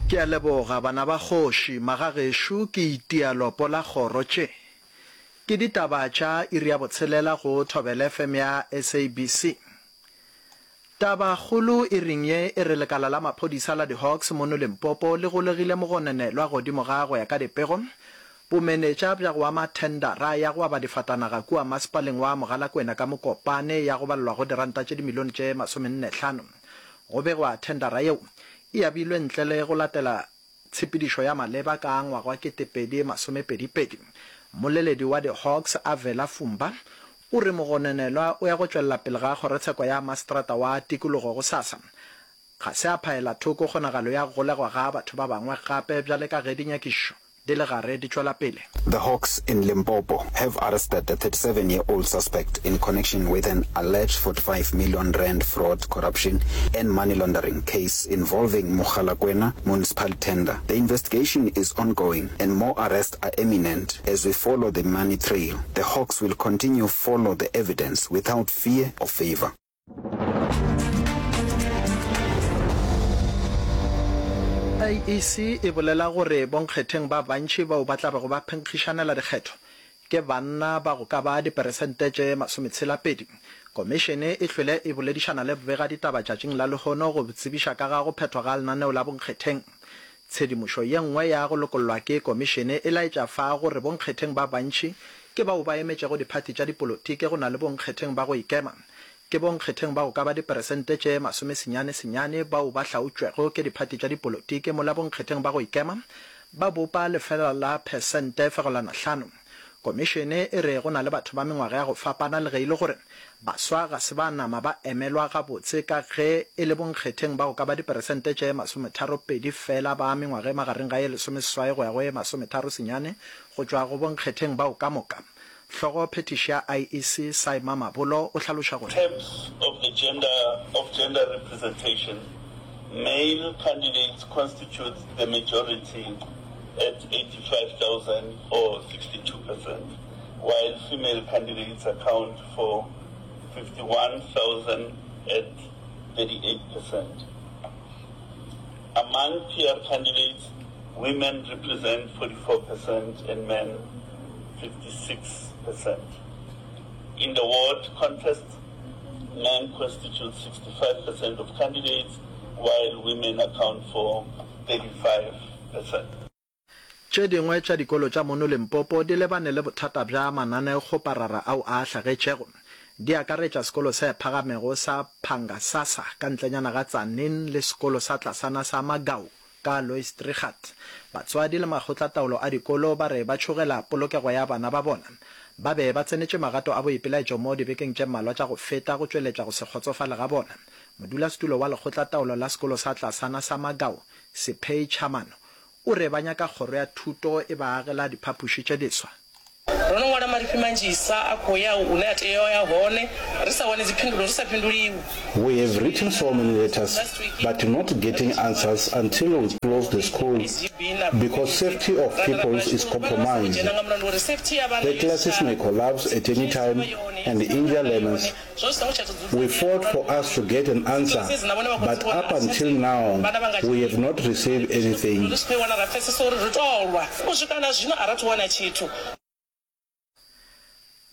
Ke a leboga bana ba kgoši, magagešo ke itia lopo la kgoro tše. Ke ditaba tša iri ya botshelela go Thobela FM ya SABC. Taba kgolo iring ye e re lekala la maphodisa la di-Hawks mono Limpopo le golegile mogononelwa godimo ga go ya ka dipego bomenetša bja go ama thendara ya go aba difatanaga kua masepaleng wa Mogalakwena ka Mokopane ya go balelwa go diranta tše dimilione tše masomennehlano. Go begwa thendara yeo e abilwe ntle le go latela tshepedišo ya maleba ka ngwaga wa 2022. Mmoleledi wa di-Hawks Avela Fumba o re mogononelwa o ya go tšwelela pele ga kgorotsheko ya maseterata wa tikologo gosasa. Ga se a phaela thoko kgonagalo ya go golegwa ga batho ba bangwe gape bjale ka ge dinyakišišo di le gare di tšwela pele. The Hawks in Limpopo have arrested a 37 year old suspect in connection with an alleged 45 million rand fraud, corruption and money laundering case involving Mogalakwena Municipal tender. The investigation is ongoing and more arrests are imminent as we follow the money trail. The Hawks will continue follow the evidence without fear or favour. IEC e bolela gore bonkgetheng ba bantši bao ba tla bego ba phenkgišanela dikgetho ke banna ba go ka ba diperesente tše masometshela-pedi. Komišene e hlwele e boledišana le begaditaba tšatšing la lehono go tsebiša ka ga go phethwa ga lenaneo la bonkgetheng. Tshedimošo ye nngwe ya go lokollwa ke komišene e laetša fa gore bonkgetheng ba bantši ke bao ba emetšego diphathi tša dipolotiki go na le bonkgetheng ba go ikema. Ke bonkgetheng ba go ka ba diperesente tše masomesenyane senyane bao ba hlaotšwego ke diphathi tša dipolotiki mola bonkgetheng ba go ikema ba bopa lefela la phesente fegelwana hlano. Komišene e re go na le batho ba mengwaga ya go fapana le ge e le gore baswa ga se ba nama ba emelwa gabotse ka ge e le bonkgetheng ba go ka ba diperesente tše masometharopedi fela ba mengwaga e magareng ga ye lesomeseswai go ya go ye masometharo senyane go tšwa go bonkgetheng bao ka moka. Hlogo phethiši ya IEC, Saima Mabolo o hlaloša gore. Terms of the gender of gender representation, male candidates constitute the majority at 85,000 or 62 percent, while female candidates account for 51,000 at 38 percent. Among PR candidates, women represent 44 percent and men 56 percent. In the ward contest, men constitute 65 percent of candidates, while women account for 35 percent. Tše dingwe tša dikolo tša mono Limpopo di lebane le bothata bja mananeokgoparara ao a hlagetšego. Di akaretša sekolo se phagamego sa Phangasasa ka ntlenyana ga Tzaneen le sekolo sa tlasana sa Magau ka Louis Trichardt. Batswadi le makgotlataolo a dikolo ba re ba tšhogela polokego ya bana ba bona. Ba be ba tsenetše magato a boipelaetšo mo dibekeng tše mmalwa tša go feta go tšweletša go se kgotsofale ga bona. Modulasetulo wa lekgotlataolo la sekolo sa tlasana sa Magau, Sephei Chamano, O re ba nyaka kgoro ya thuto e ba agela diphapoši tše diswa. Ro no ṅwala marifhi manzhisa a khou ya hune a tea u ya hone, ri sa wani dziphindulo, ri sa fhinduliwi. We have written so many letters but not getting answers until we close the school because safety of pupils is compromised. The classes may collapse at any time and injure learners. We fought for us to get an answer but up until now we have not received anything.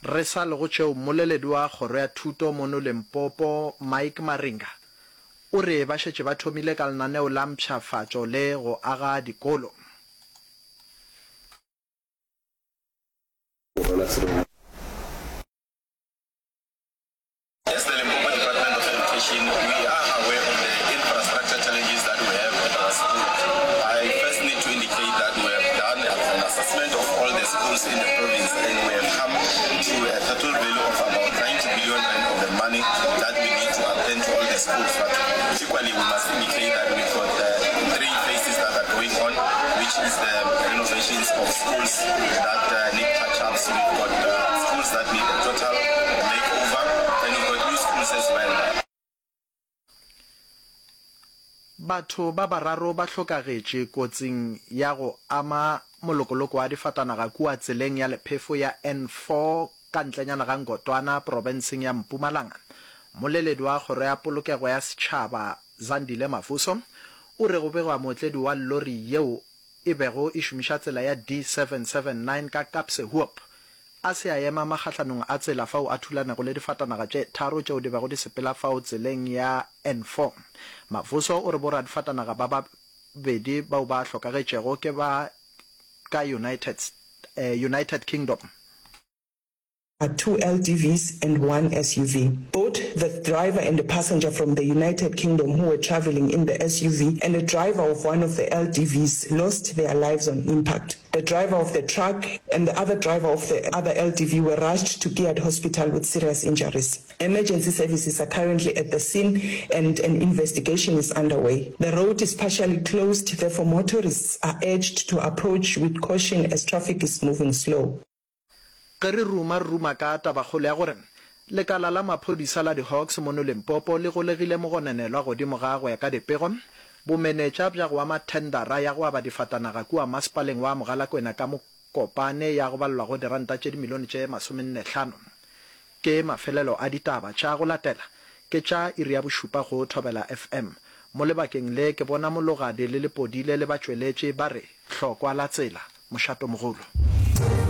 Re sa le go tšeo, mmoleledi wa kgoro ya thuto mono Limpopo, Mike Maringa, o re ba šetše ba thomile ka lenaneo la mpshafatšo le go aga dikolo. As the Limpopo Department of Education, we are aware of the infrastructure challenges that we have at our school. I first need to indicate that we have done an assessment of all the schools in the province and we have come to a total value of about 90 billion rand of the money that we need to attend to all the schools. But equally, we must indicate that we've got uh, three phases that are going on, which is the renovations of schools that uh, need touch-ups. We've got uh, schools that need a total makeover, and we've got new schools as well. Batho ba bararo ba hlokagetše kotsing ya go ama molokoloko wa difatanaga kua tseleng ya lephefo ya N4 ka ntlenyana ga Ngotwana profenseng ya Mpumalanga. Mmoleledi wa Kgoro ya Polokego ya Setšhaba, Zandile Mavuso, o re go begwa mootledi wa lori yeo e bego e šomiša tsela ya D779 ka Kaapsehoop a se a ema magahlanong a tsela fao a thulanego le difatanaga tše tharo tšeo di bego di sepela fao tseleng ya N4. Mavuso o re boradifatanaga ba babedi bao ba hlokagetšego ke ba ka United United Kingdom. are two LDVs and one SUV. Both the driver and a passenger from the United Kingdom who were travelling in the SUV and a driver of one of the LDVs lost their lives on impact. The driver of the truck and the other driver of the other LDV were rushed to Kiat Hospital with serious injuries. Emergency services are currently at the scene and an investigation is underway. The road is partially closed, therefore motorists are urged to approach with caution as traffic is moving slow. Ge re ruma, re ruma ka tabakgolo ya gore lekala la maphodisa la di-Hawks mono Limpopo le golegile mogononelwa godimo ga go ya ka dipego, bomenetša bja go ama thendara ya go aba difatanaga kua masepaleng wa Mogalakwena ka Mokopane ya go balelwago diranta tše dimilione tše masomennehlano. Ke mafelelo a ditaba tša go latela ke tša iri ya bošupa go Thobela FM. Mo lebakeng le ke bona Mologadi le Lepodile le batšweletši ba re hlokwa la tsela, mošatomogolo.